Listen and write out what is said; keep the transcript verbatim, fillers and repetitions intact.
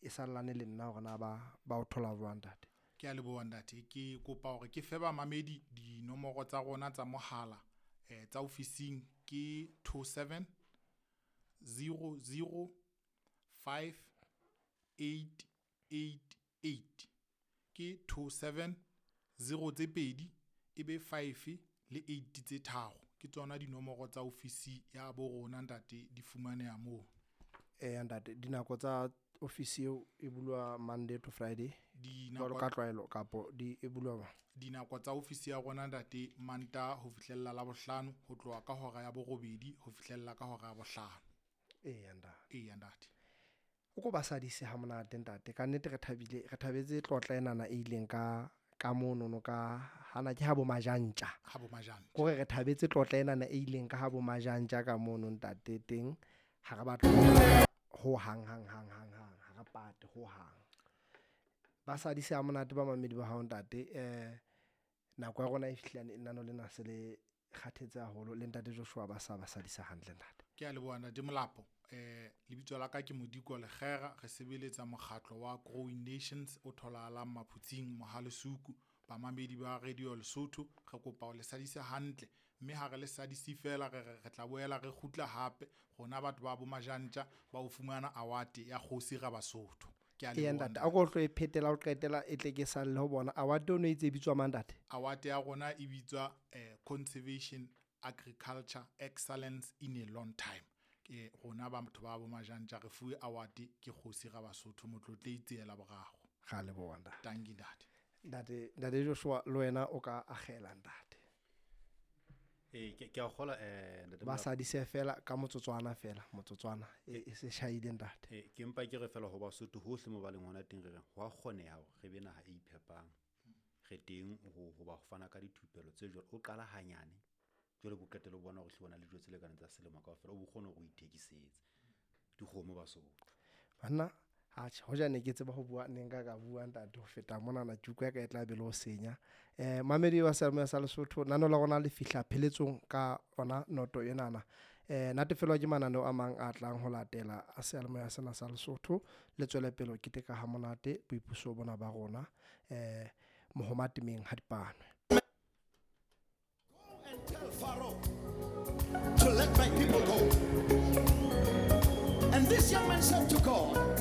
e sallane le nna hore na ba ba o thola jwang ntate. Ke a leboha ntate. Ke kopa hore ke fe bamamedi dinomoro tsa rona tsa mohala eh tsa ofising ke two seven zero zero five eight eight eight. Ke two seven zero tse pedi ebe five le eight tse tharo. Ke tsona dinomoro tsa ofisi ya bo rona ntate, di fumaneha moo. Eh ntate, dinako tsa ofisi eo e bulwa Monday to Friday jwalo ka tlwaelo kapo di e bulwa jwang? Dinako tsa ofisi ya rona ntate, Mantaha ho fihlella Labohlano, ho tloha ka hora ya borobedi ho fihlella ka hora ya bohlano. Eya ntate. Eya ntate. O ko ba sadise ha monate ntate. Ka nnete re thabile, re thabetse tlotla enana e ileng ka ka monono ka hana ke ha bo Majantja. Ha bo Majantja. Kore re thabetse tlotla enana e ileng ka ha bo Majantja ka mono ntate teng. Ha re batle ho hang hang hang hang hang, ha re pate ho hang. Ba sadise ha monate ba mamedi ba hao ntate. Eh nako ya rona e fihlile, nano lena se le kgathetse haholo le ntate Joshua ba sa ba sadisa hantle ntate. Ke a leboha ntate Molapo. Eh lebitso la ka ke Modiko Lekgera, re sebeletsa mokgatlo wa Growing Nations o tholahalang Maphutsing Mohalesuku. Bamamedi ba Radio Lesotho re kopa ho le sadisa hantle, mme ha re le sadise fela re re tla boela re kgutla hape rona batho ba bo Majantja ba ho fumana award ya Kgosi ra Basotho. Ke a Eya leboha ntate, a ko hlo e phetela ho qetela e tle ke salle ho bona. Award ono e itse e bitswa mang ntate? Award ya rona e bitswa eh Conservation Agriculture Excellence in a Long Time. Ke rona ba batho ba bo Majantja re fuwe award ke Kgosi ra Basotho Motlotlehi Tsiela Boraro. Ra leboha ntate. Tanki ntate. Ntate, ntate Joshua le wena o ka akgela ntate. Eh ke ke a kgola eh ntate Ba Molapo. sadise fela ka motsotswana fela, motsotswana e e se shaile ntate. Eh ke mpa ke re fela ho Basotho hohle mo ba leng hona teng re re ho a kgoneha hore re be naha e iphepang. Re teng ho ho ba fana ka dithupelo tse jwalo. O qala hanyane jwale bo qetelle o bona hore hle o na le dijo tse lekaneng tsa selemo kaofela, o bo kgone hore o ithekisetse dikgomo Basotho. Banna atjhe, hoja ne ke tseba ho bua ne nka ka bua ntate ho feta monana tjuko ya ka e tla be le ho senya. Eh mamedi wa Seyalemoya sa Lesotho, nano la rona le fihla pheletsong ka ona noto enana. Eh natefelwa ke mananeo a mang a tlang ho latela a Seyalemoya sena sa Lesotho. Le tswele pele ho keteka ha monate boipuso bona ba rona. Eh mohoma temeng ha dipanwe. Go and tell Pharaoh to let my people go. And this young man said to God,